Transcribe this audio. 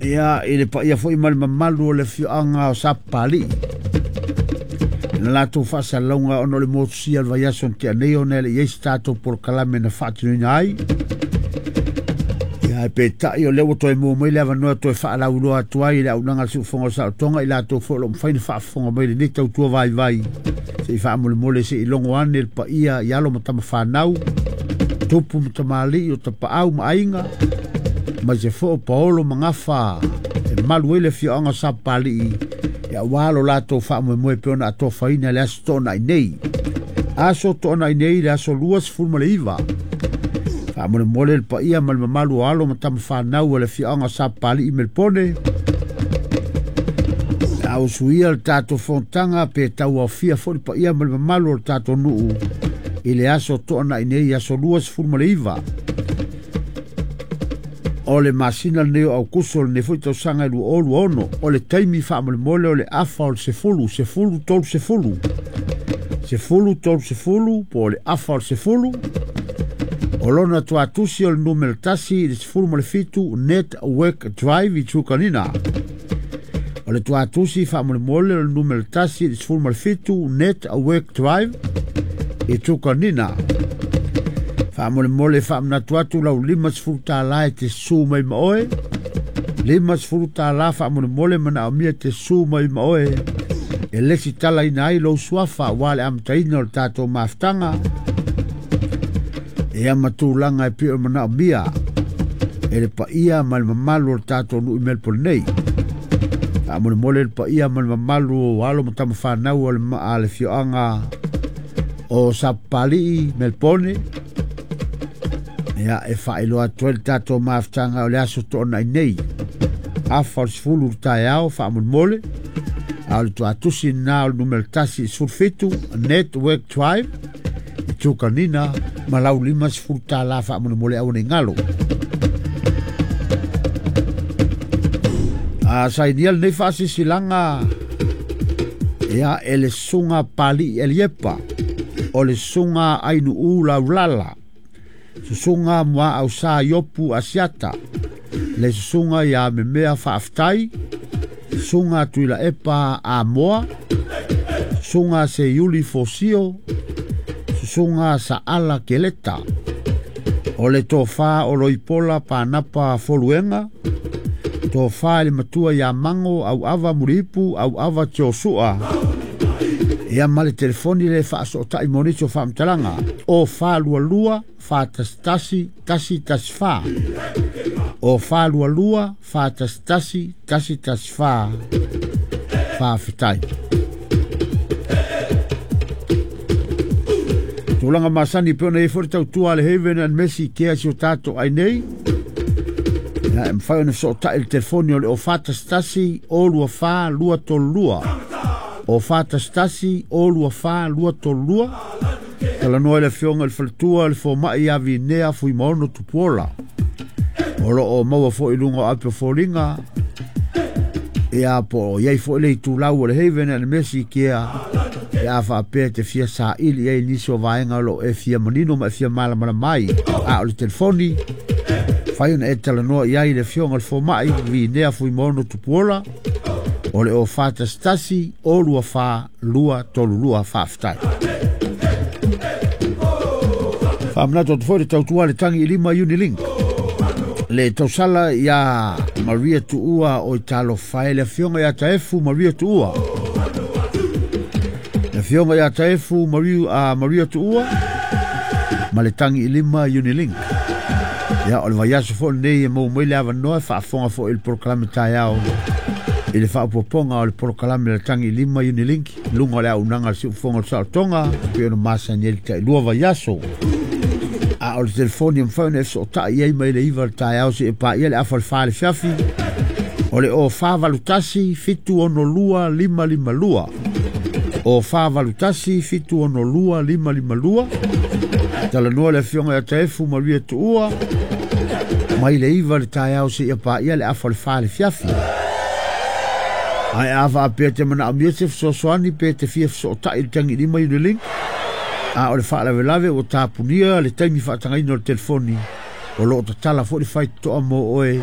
Ia, i le paia foi ma le mamalu o le afioaga o Sapapalii na latou faasalalauga ona o le motusia o le vaiaso na tea nei ona e le i ai se tatou polokalame na faatinoina ai. Ia, ae peitai o lea ua toe maua mai le avanoa e toe faalauiloa atu ai i le auaunaga a le Siufofoga o le Saotoga i latou foi o lo o mafai ona faafofoga mai i lenei tautua vaivai se i faamolemole se i logo ane le paia i alo ma tamafanau, tupu ma tamalii o tapaau ma aiga, aemaise foi o paolo ma gafa e malu ai le afioaga o Sapapalii aua lo latou faamoemoe pei ona atofaina i le aso Toonai nei. Aso Toonai nei le aso 29. Faamolemole le paia ma le mamalu o alo ma tamafanau o le afioaga o Sapapalii i Melpone. A usuia le tatou fonotaga pe tauaofia foi le paia ma le mamalu o le tatou nuu i le aso Toonai nei, aso 29 o le masina lenei o Aukuso lenei foi tausaga e 2026. O le taimi faamolemole o le afa o le 10, 10:30, 10:30 po o le afa o le 10. O lona tuatusi o le numera 1 i le 17 Network Drive i Trukanina. O le tuatusi faamolemole o le numera 1 i le 17 Network Drive i Trukanina. Faamolemole faamanatu atu lau $50 e te susu mai ma oe. $50 faamolemole manaomia te susu mai ma oe e lesitalaina ai lou suafa aua le amataina o le tatou mafutaga. Ia ma tulaga e pei o manaomia e le paia ma le mamalu o le tatou nuu i Melbourne nei. Faamolemole le paia ma le mamalu o alo ma tamafanau o le afioaga o Sapapalii Melbourne. Ia, e faailoa atu ai le tatou mafutaga o le aso Toonai nei, afa o le 10 le taeao faamolemole. A o le tuatusi lena o le numera 1 i 17 Network Drive i Trukanina ma lau $50 faamolemole aua ne i galo. A sainia lenei faasisilaga ia e le susuga Palii Eliepa, o le susuga Ainuu Laulala, susuga Muaausa Iopu Asiata, le susuga ia Memea Faafetai, susuga Tuilaepa Amoa, susuga Seiuli Fosio, susuga Saala Keleta, o le tofa o Loipola Panapa Foluenga, tofa i le matua ia Mango Auava Muliipu Auava Tiosua. Ia ma le telefoni le faasootai mo nisi o faamatalaga o 422 411 114, o 422 411 114. Faafetai. Tulaga masani pe ona i ai foi le tautua a le Haven and Mercy Care si o tatou ai nei. Ia, e mafai ona fesootai i le telefoni o le o 411 o 24 232, o 411 o 24 232. Talanoa i le afioga i le faletua le fomai ia Vinea Fuimaono Tupuola. O lo o maua foi i luga o ape o foliga. Ia, po o iai foi le itulau o le Haven and Mercy Care pe a faapea te fia saili ai nisi o vaega o lo o e fia manino ma e fia malamalama ai. A o le telefoni, fai ona e talanoa i ai le afioga i le fomai Vinea Fuimaono Tupuola o le o 411 o 24 232. Faafetai. Faamanatu atu foi le tautua le tangi i lima Unilink. Le tausala ia Maria Tuua o Italofa e le afioga ia Taefu Maria Tuua. Le afioga ia Taefu Maria Tuua ma le tangi i lima Unilink. Ia, o le vaiaso foi lenei e maua mai le avanoa e faafofoga foi i le polokalame taeao i le faaopoopoga o le polokalame le tangi i lima Unilink luga o le auaunaga a le Siufofoga o le Saolotoga pei ona masani ai le tailua vaiaso. A o le telefoni e mafai ona e fesootai ai mai le 9 le taeao seia paia le afa o le 4 le fiafi o le o 481 762 552, o 481 762 552. Talanoa le afioga ia Taefu Maria Tuua mai le 9 le taeao seia paia le afa o le 4 le fiafi. Ae a faapea te manaomia se fesoasoani pe te fia fesootai i le tangi lima Unilink, a o le faalavelave ua tapunia le taimi faatagaina o le telefoni, o lo o tatala foi le faitotoa mo oe